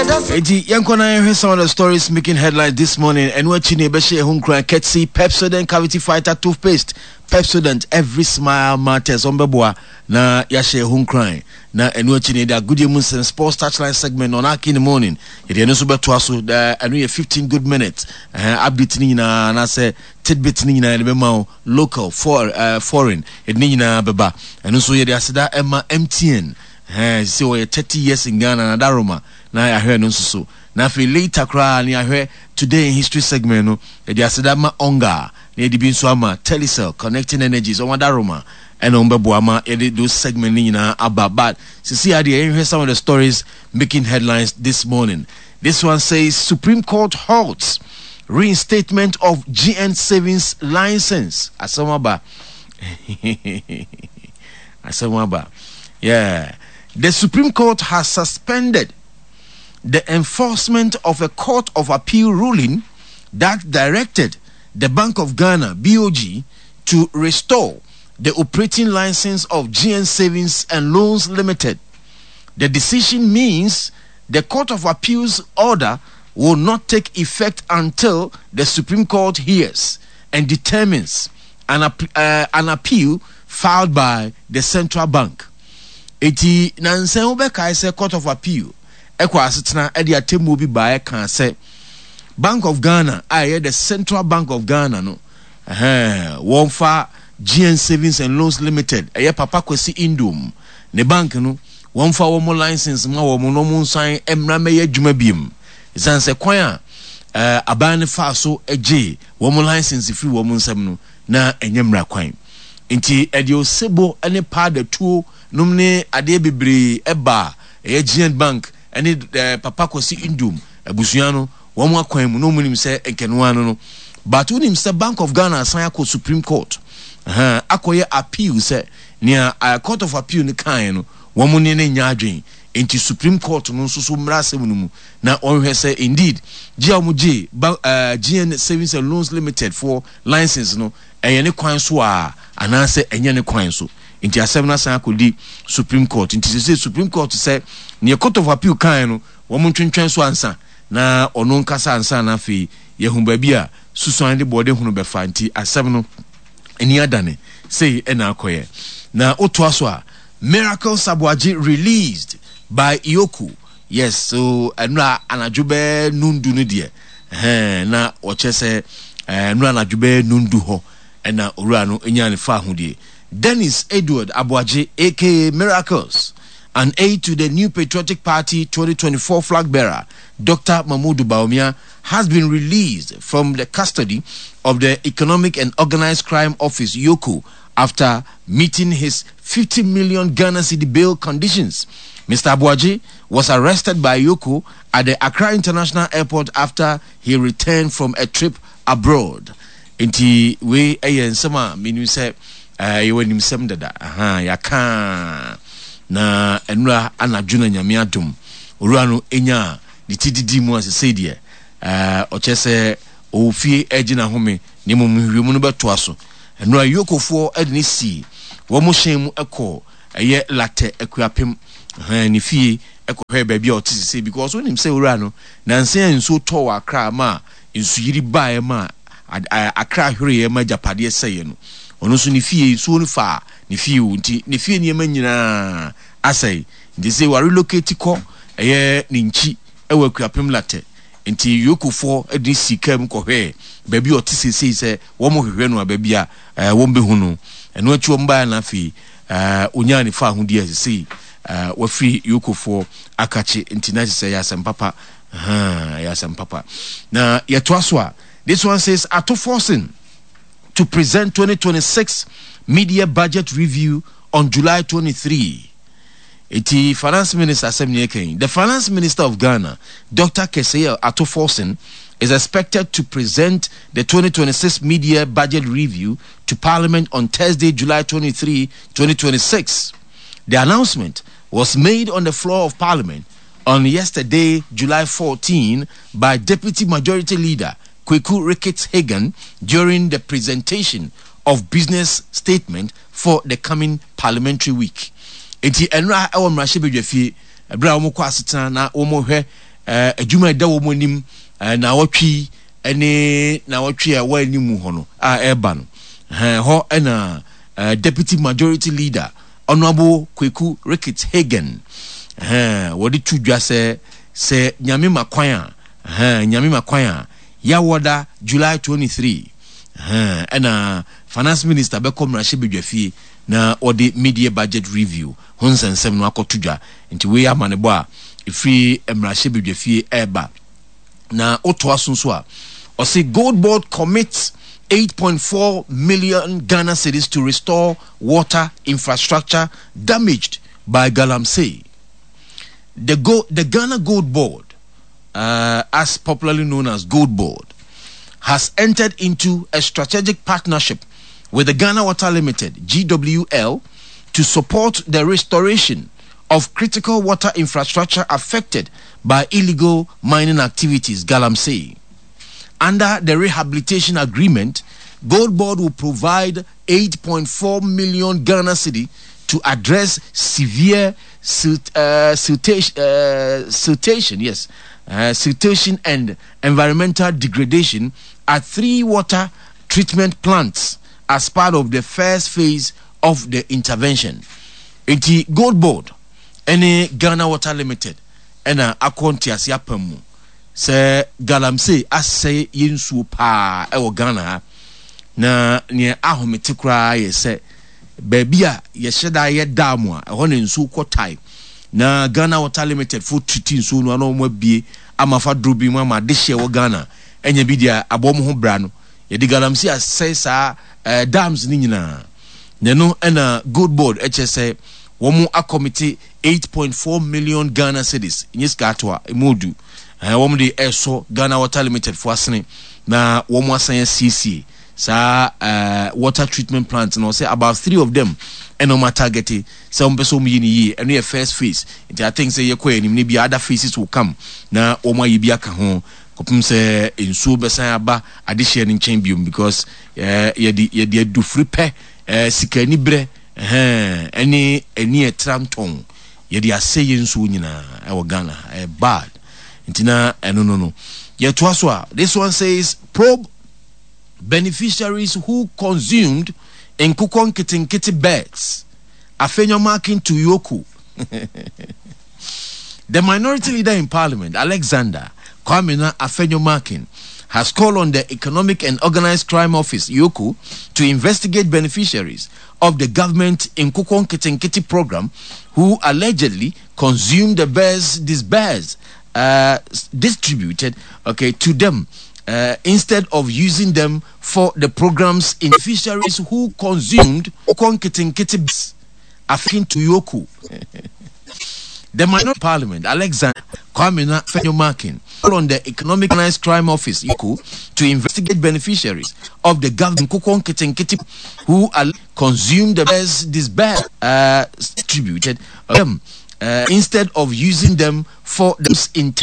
Enti yɛnkɔ na yɛnhwɛ some of the stories making headlines this morning. Ɛno akyi na yɛbɛhyɛ yɛn ho nkuran courtesy Pepsodent Cavity Fighter Toothpaste. Pepsodent, every smile matters. Ɔmbɛboa na yɛahyɛ yɛn ho nkuran. Na ɛno akyi na yɛde agodie mu nsɛm sports touchline segment on Aki in the morning. Yɛde ɛno nso bɛtoa so. Ɛno yɛ 15 good minutes. Uh, update ne nyinaa anaasɛ tidbit ne nyinaa yɛde bɛma wo local, for, uh, foreign. Yɛde ne nyinaa bɛba. Ɛno nso yɛde aseda ɛma MTN. Ɛhɛn, sɛ wɔyɛ 30 years in Ghana na Daroma na yɛahwɛ no nso so. Na afei later koraa na yɛahwɛ Today in History segment no, yɛde aseda ma Onga na yɛde bi nso ama Telecel, Connecting Energies, wɔn Adaroma ɛna wɔn bɛboa ma yɛde those segment no nyinaa aba. But sisi adeɛ yɛnhwɛ some of the stories making headlines this morning. This one says Supreme Court halts reinstatement of GN savings license. Asɛm aba. Asɛm aba. Yeah. The Supreme Court has suspended the enforcement of a Court of Appeal ruling that directed the Bank of Ghana, BOG, to restore the operating license of GN Savings and Loans Limited. The decision means the Court of Appeal's order will not take effect until the Supreme Court hears and determines an, uh, an appeal filed by the central bank. Eti nansa wobɛkae sɛ Court of Appeal ɛkɔ asetena ɛde atemmuo bi baeɛ kaa sɛ Bank of Ghana a ɛyɛ the Central Bank of Ghana no ɛhɛn wɔmfa GN Savings and Loans Limited ɛyɛ Papa Kwesi Nduom ne bank no wɔmfa wɔn license ma wɔn na wɔn nsan mmra mmɛyɛ adwuma biem ɛsiane sɛ kwan a ɛɛ aban no faa so gyee wɔn license firi wɔn nsam no na ɛnyɛ mmara kwan. Nti ɛde osebo ne paadatuo nom ne adeɛ bebree ɛbaa ɛyɛ Giant Bank ne Papa Kwasi Nduom abusua no wɔn akwan mu na wɔn nim sɛ nkɛnoa no no. But wonim sɛ Bank of Ghana asan akɔ Supreme Court ɛhɛn akɔyɛ appeal sɛ nea Court of Appeal no kaeɛ no wɔn ne no nyɛ adwene nti Supreme Court no nso so mmra asɛm no mu na wɔnhwɛ sɛ indeed gye a wɔn gyee ba ɛɛ GN Savings and Loans Limited foɔ license no ɛyɛ ne kwan so a anaasɛ ɛnyɛ ne kwan so. Nti asɛm no asan akɔdi Supreme Court. Nti sese Supreme Court sɛ neɛ Court of Appeal kaeɛ no wɔn ntwentwɛn so ansa na ɔno nkasa ansa na afei yɛhu baabi a susuan de bɔɔde hunu bɛfa. Nti asɛm no ani adane sei ɛna akɔyɛ. Na wotoa so a Miracle Saboagye released by EOCO. Yes, so ɛnora anadwo bɛɛ nundu no deɛ ɛhɛn na wɔkyerɛ sɛ ɛnora anadwo bɛɛ nundu hɔ ɛna owura no nyaa ne fa ahodie. Dennis Edward Aboagye aka Miracles, an aide to the New Patriotic Party 2024 flag bearer Dr. Mahmoud Bawumia, has been released from the custody of the Economic and Organized Crime Office, EOCO, after meeting his 50 million Ghana cedi bail conditions. Mr. Aboagye was arrested by EOCO at the Accra International Airport after he returned from a trip abroad. Nti wei ɛyɛ nsɛm a menim sɛ ɛyɛ w'animsɛm dada. Aha, yɛaka na ɛnura anadwo na Nyame adom owura no enya ne ti didi mu a sesei deɛ ɔkyɛ sɛ ɔwɔ fie ɛgye n'ahome na mmom nhwehwɛmu no bɛtoa so. Ɛnura Yokofoɔ de ne sii wɔn hyɛn mu kɔɔ ɛyɛ Latɛ Akuapem ne fie kɔhwɛɛ baabi a ɔte sesei because wonim sɛ owura no nansa a nsuo tɔɔ wɔ Accra ma nsuyiri baeɛ ma Accra hwereeɛ ma agyapadeɛ sɛeɛ no ɔno nso ne fie nsuo no faa ne fie o nti ne fie nneɛma nyinaa asɛe nti sɛ wa relocate kɔ ɛyɛ ne nkyi ɛwɔ Akuapem Latɛ nti Yokofoɔ de ne sii kaa mu kɔhwɛɛ baabi a ɔte sesei sɛ wɔn hwehwɛ no a baabi a wɔn bɛhu no ɛno akyi wɔn baeɛ na afei onyaa ne faahodi a sesei wafiri Yokofoɔ akakye nti na kyerɛ sɛ ɛyɛ asɛm papa ɛyɛ asɛm papa na yɛtoa so a this one says Ato Forson to present 2026 media budget review on July 23. Eti finance minister asɛm ne ɛka yi. The finance minister of Ghana, Dr. Cassiel Ato Forson, is expected to present the 2026 media budget review to Parliament on Thursday, July 23, 2026. The announcement was made on the floor of Parliament on yesterday, July 14, by Deputy Majority Leader Kweku Ricketts Hagan during the presentation of business statement for the coming parliamentary week. Enti ɛnora ɛwɔ mmarahyɛbadwa fie ɛberɛ a wɔkɔ asetena na wɔhwɛ Adwuma a ɛda wɔn anim naawɔtwe yi ne naawɔtwe a ɛwɔ anim hɔ no a ɛreba no, ɛhɔ na Deputy Majority Leader Honourable Kweku Ricketts Hagan wɔde to dwa sɛ sɛ Nyame ma kwan a, Nyame ma kwan a, Yawɔda July 23 ɛna Finance Minister bɛkɔ mmarahyɛbadwafie na wɔde mid-year budget review ho nsɛnsɛm no akɔto dwa. Nti wei yɛ amanebɔ a ɛfiri mmarahyɛbadwafie ɛreba. Na wotoa so nso a, ɔse Gold Board commits 8.4 million Ghana cedis to restore water infrastructure damaged by galamsey. The, Go, the Ghana Gold Board, as popularly known as Gold Board, has entered into a strategic partnership with the Ghana Water Limited, GWL, to support the restoration of critical water infrastructure affected by illegal mining activities, Galamsey. Under the rehabilitation agreement, Gold Board will provide 8.4 million Ghana cedi to address severe silt, siltation, siltation, yes, siltation and environmental degradation at three water treatment plants as part of the first phase of the intervention. Enti Gold Board ne Ghana Water Limited na akɔ ntease apam mu sɛ galamsey asɛe yɛn nsuo paa wɔ Ghana ha. Na nea ahomete koraa yɛ sɛ baabi a yɛhyɛ da yɛ dam a ɛhɔ na nsuo kɔ tae na Ghana Water Limited fo triti nsuo no ana wɔn abie ama fa duro bi mu ama adehyeɛ wɔ Ghana anya bi deɛ abɔ wɔn ho bra no yɛde galamsey asɛe saa eh, dams no nyinaa. Na ɛno na Gold Board kyerɛ sɛ wɔn akɔmite 8.4 million Ghana cedis, nyɛ sika atoa, emu odu, ɛɛ wɔn de ɛresɔ Ghana Water Limited fo asene na wɔn asan asiesie saa ɛɛ water treatment plant no. Sɛ about three of them ɛna wɔn atargete sɛ wɔn pɛ sɛ wɔn yɛ ne yie. Ɛno yɛ first phase, nti I think sɛ yɛkɔ yɛn anim no bi other phases will come na wɔn ayɛ bi aka ho kɔpem sɛ nsuo bɛsan aba adehyeɛ no nkyɛn biom because Eh, yɛde yɛde adufiri pɛ, eh, sika anibrɛ, ɛhɛn, ɛne ani ɛtra ntɔn, yɛde asɛ yɛn nsuo nyinaa ɛwɔ Ghana ha, ɛyɛ bad. Nti na ɛno no no. Yɛtoa so a, this one says probe beneficiaries who consumed nkokɔ nketenkete birds. Afenyo-Markin to Yoko. The minority leader in parliament, Alexander Kwamina Afenyo-Markin, has called on the Economic and Organized Crime Office, EOCO, to investigate beneficiaries of the government Nkoko Nkitinkiti program who allegedly consumed the birds disbursed, distributed okay, to them instead of using them for the program's beneficiaries who consumed Nkoko Nkitinkiti Akin to EOCO. The minority parliament, Alexander Kwamina Afenyo-Markin, called on the Economic Organized Crime Office, EOCO, to investigate beneficiaries of the government Nkoko Nkitinkiti who are consumed the birds disbursed, distributed them instead of using them for the intent.